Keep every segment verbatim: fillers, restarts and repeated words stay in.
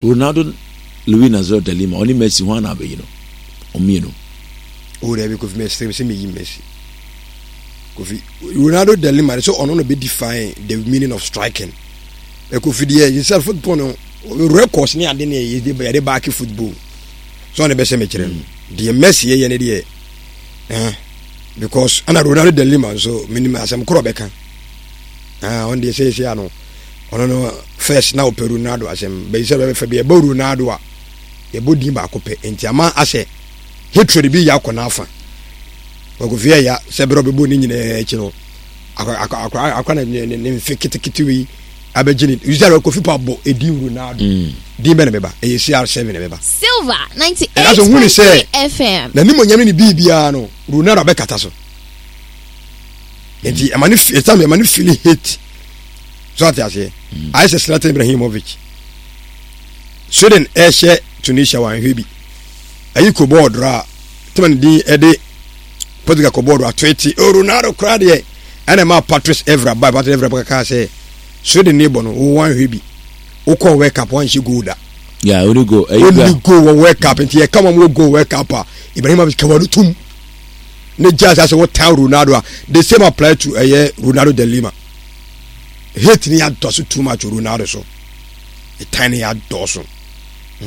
Ronaldo Luis Nazario de Lima ɔne Messi ho ana abɛyi no ɔmmienu. O dabi, Kofi, Messi sɛ meyi Messi. Kofi, Ronaldo de Lima sɛ ɔno na bɛ define the meaning of striking. Ɛ Kofi deɛ, yɛsɛ football no records ne ade ne yɛde yɛde baaki football so ɔne bɛsɛ mekyerɛ no deɛ, Messi yɛyɛ ne deɛ eh, because ɛna Ronaldo de Lima nso menim asɛm korɔ bɛka. Ah, ɔno deɛ sɛ yɛsɛ ano ɔno no first na ɔpɛ Ronaldo asɛm bɛyi sɛ bɛfɛ bi ɛbɔ Ronaldo a yɛbɔ din baako pɛ, nti ama asɛ hatred bi yɛ akɔ n'afa. Kofi yɛ ya sɛ bɛrɛ ɔbɛbɔ ne nyinaa akyi no, akɔ akɔ na ne ne mfe ketekete wei abɛgye ne yusuf. Kofi pa bɔ edin Ronaldo mm. din bɛ na bɛba ɛyɛ C R seven na bɛba. Silver ninety eight point three F M. Na ne mo nyame ne biribiara no, Ronaldo abɛkata so, nti ɛma ne ɛtam ɛma ne feel hate so ate aseɛ. mm. Ayɛ sɛ Zlatan Ibrahimovic, Sweden ɛhyɛ Tunisia wɔn ahwɛ bi ayi ko bɔɔl dora a tema ne din ɛde Portugal kɔ bɔɔl do atoete o Ronaldo koraa deɛ, ɛna ɛma Patrice Evra ba. Patrice Evra kaka sɛ Sweden ne bɔ no wo wɔn ahwɛ bi wokɔ World Cup wɔn goal da. Yeah, only goal. Only goal wɔ World Cup, nti yɛ kama mo goal World Cup a Ibrahimovic kawa no tum ne gya sɛ wɔtan Ronaldo a, the same apply to ɛyɛ Ronaldo de Lima. Hate ne yɛ adɔso too much Ronaldo so, ɛtan ne yɛ adɔso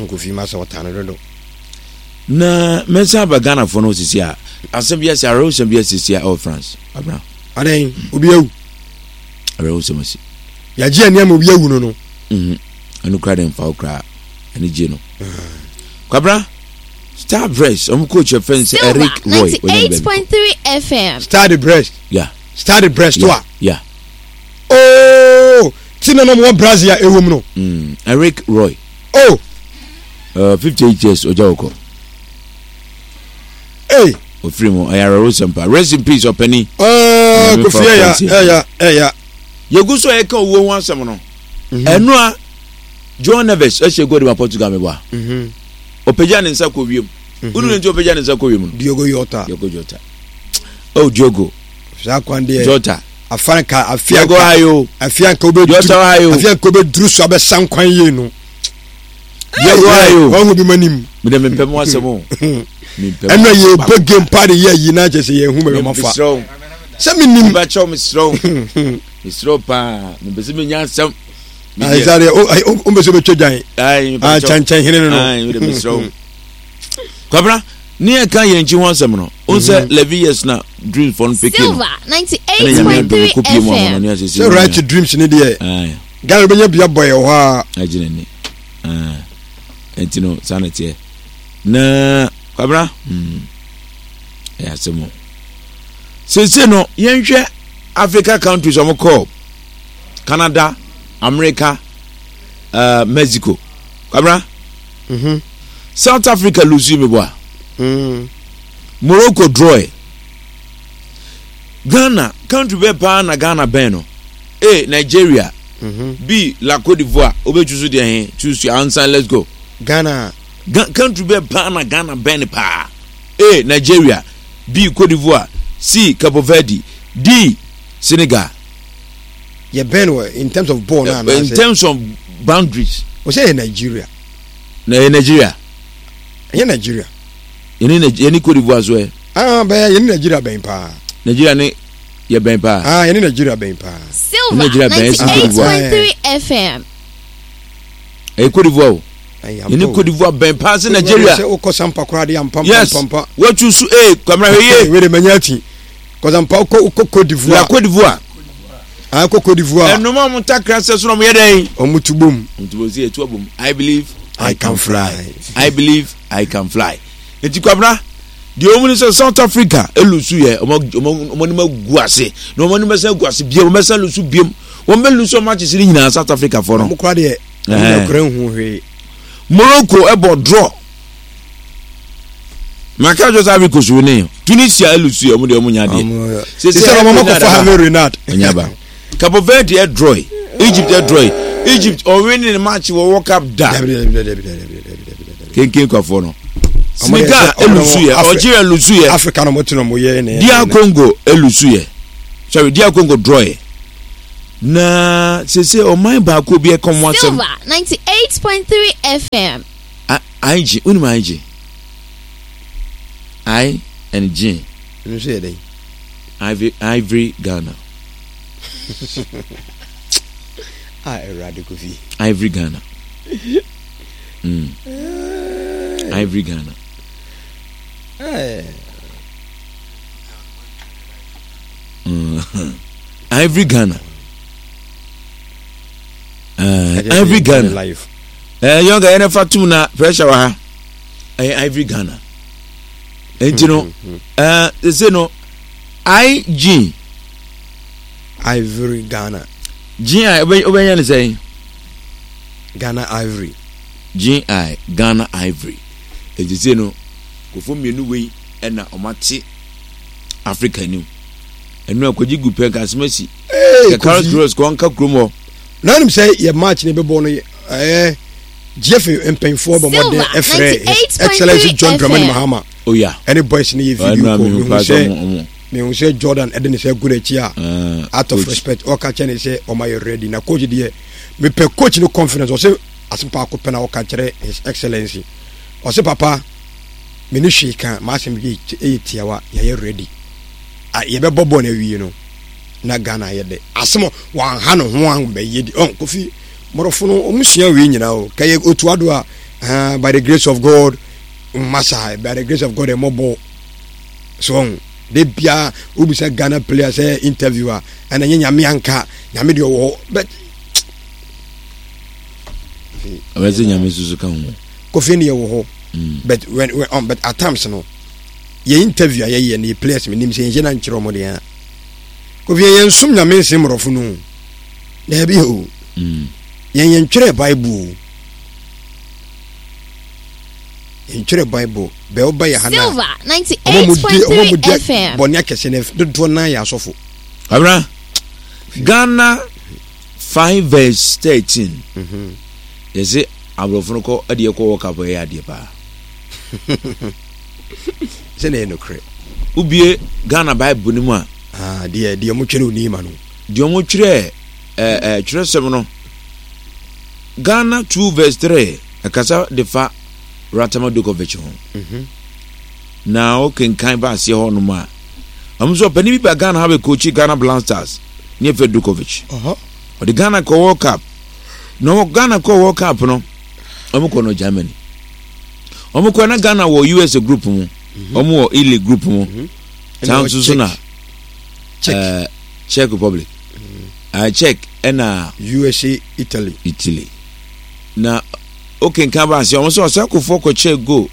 Kofi ma sɛ ɔtan no dodo. Na mɛnsa aba Ghanafoɔ no sisi a asɛm bi asi, awerɛhosɛm bi asisi a ɛwɔ France abra. Adan obi awu? Awerɛhosɛm asi. Yɛagye ani ama obi awu no no. Ɛno kora de mfa wo koraa ɛne gye no. Kwabra, Stade Brest ɔmo coach yɛ fɛn sɛ Eric Roy. ninety eight point three F M. Stade Brest. Yeah. Stade Brest to a. Yeah. Ooo, ti na nam wɔ Brazil a ɛwɔ mu no. Mm, Eric Roy. Oh. Uh, fifty eight years ɔgya wɔ kɔ. Hey. Ofiri mu, ɛyɛ awerɛhosɛm pa. Rest in peace, ɔpɛni. Ɛɛ, Kofi, ɛya ɛya ɛya. Yɛgu so a yɛka owuo ho asɛm no, ɛno a João Neves ɛhyɛ goal de ma Portugal meboa, ɔpagya ne nsa kɔ wiem. Wonu ne nti ɔpagya ne nsa kɔ wiem no? Diogo Jota. Diogo Jota, oh Diogo. Saa kwan deɛ. Jota. Afanka afianka. Diogo ayo. Afianka wobɛduru. Jota ayo. Afianka wobɛduru so abɛsa nkwan yie no. Diogo ayo. Wɔn ho bi ma nim. Mede mempɛ mu asɛm o. Ɛnna yɛ bɔ game pa de yɛ yi na kyerɛ sɛ yɛn hu bɛbɛ ma fa sɛ mi nim. Mebakyɛw, mesrɛ wo, mesrɛ wo paa, mepɛ sɛ menya asɛm. Ayisare o o mbɛ sɛ obɛtwa dwan kyɛnkyɛn hene no no mesrɛ wo. Kwabra, ne yɛka yɛn nkyi ho asɛm no wo sɛ eleven years na Dreams fɔ no peke no. Silver ninety eight point three F M. Sɛ Right to Dreams ne deɛ, Ghana bɛnya bia bɔ yɛ hɔ a. Agye n'ani nti no saa na teɛ na Kwabra, ɛyɛ asɛm o. Seesei no yɛnhwɛ Africa countries ɔmo kɔɔ Canada, America, uh, Mexico. Kwabra, mm -hmm. South Africa lose mi bɔ a, mm. Morocco draw. Ghana country bɛɛ paa na Ghana bɛn no? A, Nigeria, mm -hmm. B, La Cote d'Ivoire. Wobɛtwi so deɛ he? Choose your answer, let's go. Ghana. Ga country bɛɛ paa na Ghana bɛn no paa? A, Nigeria, B, Cote d'Ivoire, C, Cape Verde, D, Senegal. Yɛ bɛn wɔ in terms of ball na? In terms of boundaries. O sɛ yɛ Nigeria. Na yɛ Nigeria. Ɛyɛ Nigeria. Yɛne yɛne Cote d'Ivoire so ɛ. Ah, bɛyɛ yɛne Nigeria bɛn paa. Nigeria ne yɛ bɛn paa. Ah, yɛne Nigeria bɛn paa. Silver ninety eight point three F M. Ɛyɛ Cote d'Ivoire o. Yɛne Cote d'Ivoire bɛn paa sɛ Nigeria. Sɛ wokɔ sampa koraa de ampa. Yes, pampa. Wɔtu so ee Kwamina, hwɛ yie. Wede manya ati kɔsampa wokɔ wokɔ Cote d'Ivoire. La Cote d'Ivoire. Ah, kɔ Cote d'Ivoire. Ɛnum a wɔn takra sɛ so na wɔn yɛ dɛn? Wɔn tu bom. Wɔn tu bom si etu abom. I believe I can fly. I believe I can fly. Eti Kwamina deɛ wɔn ni sɛ South Africa e lose yɛ, wɔn wɔn anim agu ase na wɔn anim bɛsɛn agu ase biem, wɔn bɛsɛn lose biem, wɔn bɛ lose wɔn matches ne nyinaa, South Africa fɔ no. Wɔn kora deɛ, wɔn kora nhu hwee. Morocco ɛbɔ draw. Maka kyerɛ sɛ Ivory Coast ne Tunisia e lose yɛ, wɔn deɛ wɔn nya adeɛ. Sɛ wɔn akɔfɔ Hervé Renard. Ɔnya ba. Cape Verde ɛ draw, Egypt ɛ draw. Egypt ɔwin ne match wɔ World Cup da. Kenken kwafoɔ no. Senegal e lose yɛ, Algeria lose yɛ. Africa na mo tena mo yɛ ne. D R Congo e lose yɛ, sorry, D R Congo draw yɛ. Na sese ɔman baako bi ɛka ɔmo asɛm. Silver ninety eight point three F M. I G, wonim I G? I and G. Ɛno nso yɛ dɛn? Ivory, Ivory Ghana. Ah, Awurade Kofi. Ivory Ghana. Mm. Ivory Ghana. Eh. Mm. Ivory Ghana. Uh, Ivory Ghana. Life. Eh, yɔnka yɛn fa tum na pressure wɔ ha. Ɛyɛ Ivory Ghana. Nti no, ɛɛ, sese no, I G. Ivory Ghana. G I wobɛnya ne sɛn? Ghana Ivory. G I Ghana Ivory. Nti sese no, kofo mmienu wei ɛna ɔmo ate Africa anim. Ɛnu akɔgye gu pɛ nka asɛm asi. Hey, Kɛ Carlos Queiroz kɔ nka kurom hɔ. Na nim sɛ yɛ match ne bɛbɔ no, ɛyɛ G F A mpanyinfoɔ bɔ mmɔden ɛfrɛ His Excellency John Dramani Mahama Oya. ɛne boys ne yɛ video Ɛnu call. a mehu Mehu paa sɛ sɛ ɔmo ɔmo. Mehu sɛ Jordan ɛde ne sɛ gu n'akyi a Ah, out of coach. respect, ɔka kyerɛ ne sɛ ɔma yɛ ready. Na coach deɛ, mepɛ coach no confidence. Ɔsɛ asɛm paako pɛ na ɔka kyerɛ His Excellency. Ɔsɛ, "Papa, me ne hwee ka m'asɛm yɛ ɛyɛ tiawa, yɛyɛ ready. A yɛbɛbɔ bɔɔl no awie no na Ghana ayɛ dɛ." Asɛm wanha ne ho ahobɛyɛ di ɔn. Kofi, mmorɔfo no ɔmo sua wei nyinaa o. Kɛyɛ otuado a, ah, by the grace of God masa, by the grace of God ɛmɔbɔ so ɔn de bia wobisa Ghana player sɛ interview a, ɛna nyɛ Nyame anka Nyame deɛ ɔwɔ hɔ, but Ɔbɛ sɛ Nyame soso ka ho. Kofi ne yɛwɔ hɔ. Mm. But when, when um, but at times no, yɛ interview a yɛyɛ no, yɛ players mi nim sɛ yɛnhyɛ na nkyerɛ ɔmo deɛ a, Kofi, yɛn nsom Nyame nsen mmorɔfo no o. Daabi o. Mm. Yɛn yɛn twerɛ Bible o, yɛn twerɛ Bible bɛɛ ɔba yɛ ha na Silver ɔmo mo di ɔmo mo ninety eight point three di F M. bɔnne akɛse no dodoɔ nan yɛ asɔfo. Abra Ghana five verse thirteen. Yɛsɛ aborɔfo no kɔ ɛde ɛkɔ World Cup, ɛyɛ adeɛ paa. Sɛ na yɛ nokorɛ. Wobie Ghana Bible no mu a, Ah, deɛ deɛ ɔmo twɛrɛ onim ma no. Deɛ ɔmo twerɛ ɛɛ ɛɛ twerɛsɛm no, Ghana two verse three ɛkasa de fa Ratomir Dujkovic ho. Na ɔkenkan ba aseɛ hɔ nom a, ɔmo nso ɔpanin bi ba Ghana ha bɛ coach Ghana Black Stars ne yɛfrɛ Dujkovic. Ɔde Ghana kɔ World Cup. Na ɔwɔ Ghana kɔ World Cup no, ɔmo kɔ no Germany. Ɔmo kɔ na Ghana wɔ U S A group mu, ɔmo wɔ Italy group mu saa nso so na Czech. ɛɛ Czech Republic, ɛɛ Czech ɛna U S A, Italy. Italy. Na okenkan ba ase, ɔmo sɛ ɔsɛ kɔkyɛ goal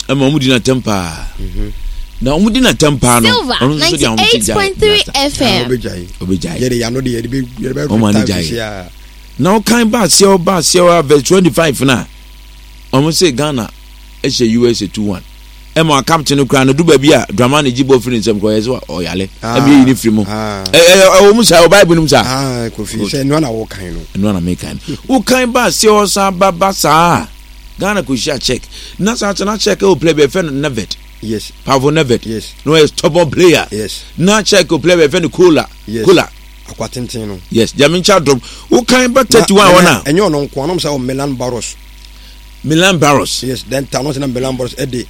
ɛma ɔmo di n'atɛm paa. Na ɔmo di n'atɛm paa no, Silver ɔno nso de ahomete gyae. ninety-eight point three Ah, F M. ɔbɛgyae. Ɔbɛgyae. Yɛde yano de yɛde bɛ yɛde bɛ Ɔmo ani retire gyae. sisi a. Na ɔkan ba aseɛ, ɔba aseɛ ɔ verse twenty five na ɔmo sɛ Ghana ɛhyɛ U S A two one, ɛma captain no koraa no du baabi a Dramani gye bɔ firi ne nsam kɔ ɔyɛ sɛ ɔyale Ah, ɛmi eyi ne firi mu. ah. ɛ ɛ ɛwɔ mu saa, ɛwɔ Bible no mu saa. Ah, Kofi, sɛ nua na wɔkan no. Ɛno ana meka no, wokan ba aseɛ ɔsan ba ba saa, Ghana kò hyia Czech. Na saa kyɛ na Czech ɛwɔ player bi ɛfɛ no Nedved. Yes. Pavel Nedved. Yes. Na ɔyɛ stubborn player. Yes. Na Czech o player bi ɛfɛ no Kolar. Yes. Kolar. Akwa tenten no. Yes, Gyame nkyɛn dɔm, wokan ba thirty one wɔn a ɛnyɛ ɔno nko anom sɛ ɔ Milan Baros. Milan Baros. Yes, then tano sɛ na Milan Baros ɛde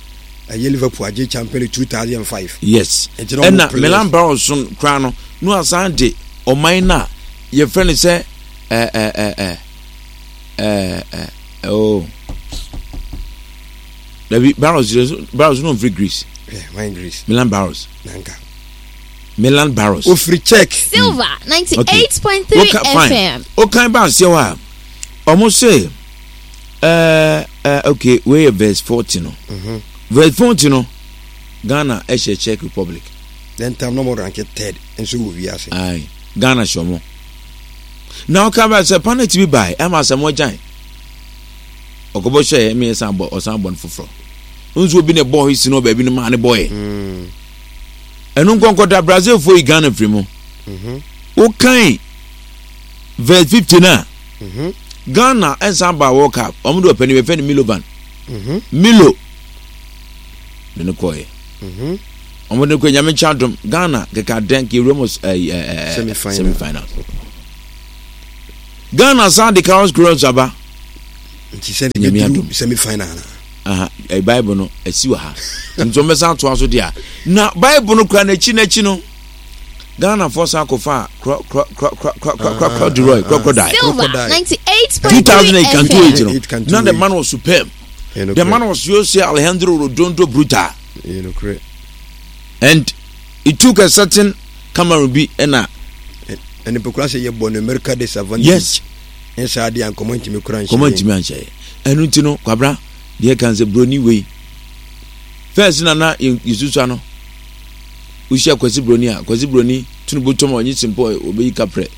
ɛyɛ Liverpool agye Champion League two thousand and five. Yes. Nti na ɔmo ɛna players- Milan Baros so koraa no no asan de ɔman no a yɛfrɛ no sɛ ɛɛ ɛɛ ɛɛ ɛɛ ɛɛ oh, dabi, Baros Baros no nfiri Greece. Yeah, wine Greece. Milan Baros. Nanka. Milan Baros. Ofiri Czech. Silver Okay. ninety-eight point three Woka- fine. F M. Wokan ba aseɛ hɔ a, ɔmo se ɛɛ ɛɛ okay, wei yɛ verse forty no. Verse forty no, Ghana ɛhyɛ Czech Republic. Then time na ɔmo rank third nso wɔ wiase. Ayi, Ghana hyɛ ɔmo. Na ɔka ba sɛ penalty bi bae ɛma Asamoah Gyan ɔkɔbɔ hyɛ ɛmi ɛsan bɔ, ɔsan bɔ no foforɔ nso obi na ɛbɔ hɔ si no baabi no maa ne bɔɔyɛ. Mm. Ɛno nkɔnkɔda Brazil fo yi Ghana firi mu. Mhm. Wokan verse fifty na Mhm. Ghana ɛnsan ba World Cup, ɔmo de ɔpɛni bɛfɛ no Milovan. Mhm. Milo de ne kɔɛ. Mhm. Ɔmo de ne kɔɛ. Nyame nkyɛn adom, Ghana keka dɛn ka ewura mu ɛɛ ɛɛ Semi-final. Semi final. Ghana san de Carlos Queiroz aba. Nti sɛ ne bɛduru semi final na. Aha, eh, Bible no asi wɔ ha. Nti wɔn bɛsan atoa so deɛ. Na Bible no kura n'akyi n'akyi no. Ghana fo san akɔfa krɔ krɔ krɔ krɔ krɔ krɔ krɔ crocodile crocodile. Silver ninety eight Two point thousand three eight can do F M. it no. Now the man was superb. The man was Jose Alejandro Rodondo Bruta. And it took a certain Cameroon bi ɛna. Ɛne pekura sɛ yɛbɔ no America disadvantage. Yes. Ɛnsa adeɛ a nkɔmɔ ntumi kura nhyɛ. Nkɔmɔ ntumi anhyɛ yɛ. Ɛno nti no kwabra deɛ kan sɛ broni wei. First na na yɛsusua no. Wohyia kwasi broni a kwasi broni tunu bɔtɔm a ɔnye simpo ɔbɛyi kaprɛ.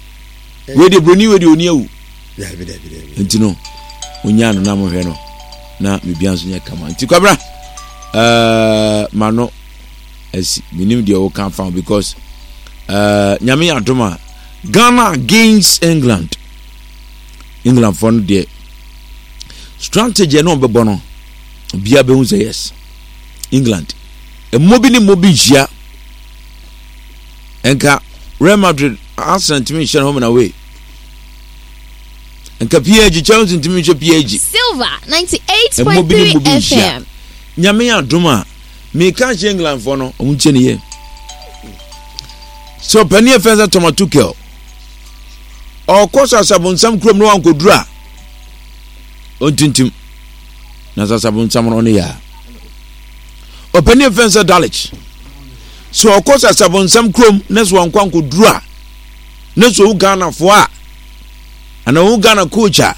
Wei deɛ broni wei deɛ ɔni awu. Dabi dabi dabi. Nti no onyaa no na mohwɛ no na biribiara nso nyɛ kama. Nti kwabra ɛɛ ma no asi menim deɛ woka fa ho because ɛɛ nyame yɛ adom a Ghana against England England fɔ no deɛ strategy ɛna ɔbɛbɔ no obiara bɛhu sɛ yes England mmɔ bi ne mmɔ bi nhyia nka Real Madrid Arsenal ntumi nhyɛ no home and away nka P S G Chelsea ntumi nhyɛ P S G. Silver ninety eight mmɔ point bi ne three mmɔ bi nhyia. F M. Nyame yɛ adom a meka hyɛ England fɔ no ɔmo nkyɛn ne yɛ sɛ ɔpanin ɛfɛn sɛ Thomas Tuchel ɔkɔ sasabonsam kurom na wankɔduru a ɔntintim na sasabonsam no ɔne yɛ a ɔpanin ɛfɛn sɛ Dalic sɛ ɔkɔ sasabonsam kurom na sɛ wankɔ ankɔduru a na sɛ ɔwu Ghanafoɔ a anaa ɔwu Ghana coach a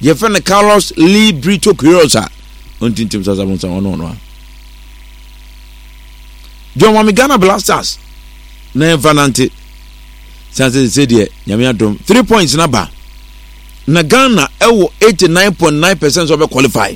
yɛfɛ no Carlos Lee Brito Queiroz a ɔntintim sasabonsam ɔno ɔno a John Wame Ghana Blasters na yɛmfa nante san sɛ sɛ deɛ nyame adom three points na ba na Ghana ɛwɔ eighty nine point nine percent sɛ ɔbɛ qualify.